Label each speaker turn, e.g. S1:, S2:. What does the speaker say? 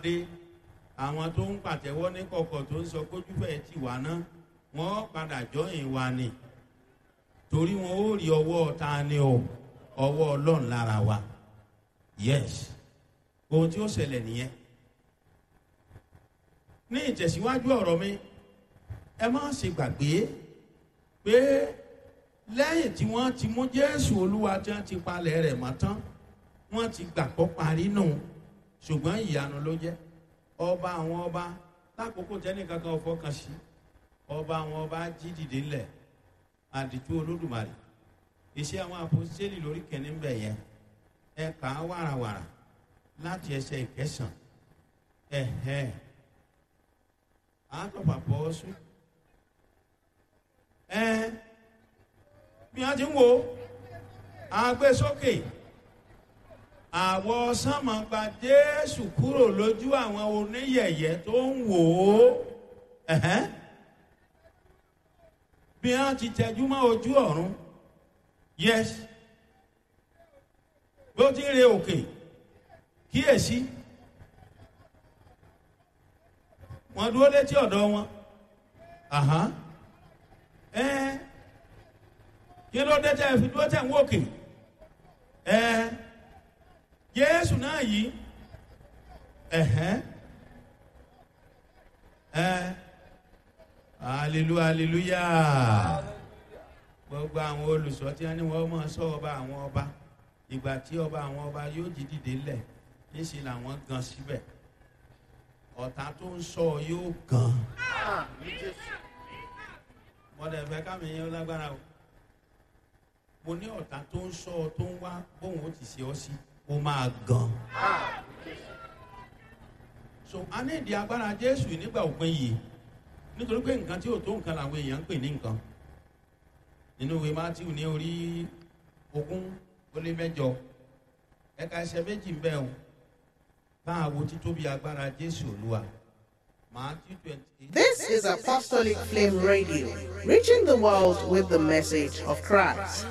S1: Dé àwọn tó ń pàtẹ́wọ́ ní kọ̀kọ̀ tó ń sọ kójúfẹ́ ti wà ná, wọ́n padà jọyìn wa ni, torí wọn ó rí ọwọ́ ta ni o, ọwọ́ Ọlọ́run lára wa. Yes, ohun tí ó ṣẹlẹ̀ nìyẹn. Ní ìtẹ̀síwájú ọ̀rọ̀ mi, ẹ má ṣe gbàgbé pé lẹ́yìn tí wọ́n ti mú Jésù Olúwa, tí wọ́n ti palẹ̀ rẹ̀ mọ́ tán, wọ́n ti gbàgbọ́ parí nù, ṣùgbọ́n ìyanu ló jẹ́. Ọba àwọn ọba, lákòókò tẹ́nìkan kan fọkàn sí, ọba àwọn ọba jí dìde ńlẹ̀. Àdìtú Olódùmarè. Iṣẹ́ àwọn àpòsílẹ̀ lórí kẹ́ni ń bẹ̀ yẹn, ẹ kà á wàràwàrà láti ẹsẹ̀ ìkẹsàn. Ẹ̀hẹ́, àtọ̀pàpọ̀ ọ̀sùn ẹ bí wọ́n ti ń wo agbésókè àwọn sánmọ̀ gba Jésù kúrò lójú àwọn oníyẹ̀yẹ́ tó ń wò ó. Ẹ̀hẹ́n, bí wọ́n ti tẹjú mọ́ ojú ọ̀run. Yes, bó ti ń re òkè, kíyèsí, wọ́n dúró létí ọ̀dọ̀ wọn. Àhán, ẹ kí ló dé tẹ́ fi dúró tẹ́ ń wòkè? Ẹ Jésù náà yìí. Ẹ̀hẹ́n, ẹ hallelujah, hallelujah. Gbogbo àwọn olùsọ tí wọ́n ní wọ́n máa sọ ọba àwọn ọba, ìgbà tí ọba àwọn ọba yóò jí dìde lẹ̀, níṣẹ́ làwọn gan síbẹ̀. Ọ̀tá tó ń sọ yóò gan. Mọ̀dẹ̀ fẹ́ kámi yẹn lágbára o. Mo ní ọ̀tá tó ń sọ, tó ń wá bóun ó ti ṣe ọ́ sí, ó máa gan. So a ní ìdí agbára Jésù nígbà òpin yìí, nítorí pé nǹkan tí ò tó nǹkan làwọn èèyàn ń pè ní nǹkan. Nínú ìwé Mátíù ní orí 28, ẹ̀ka ẹsẹ̀ 2 ń bẹ̀ o, bá a wo títóbi agbára Jésù Olúwa. Matthew 28.
S2: This is Apostolic Flame Radio, reaching the world with the message of Christ.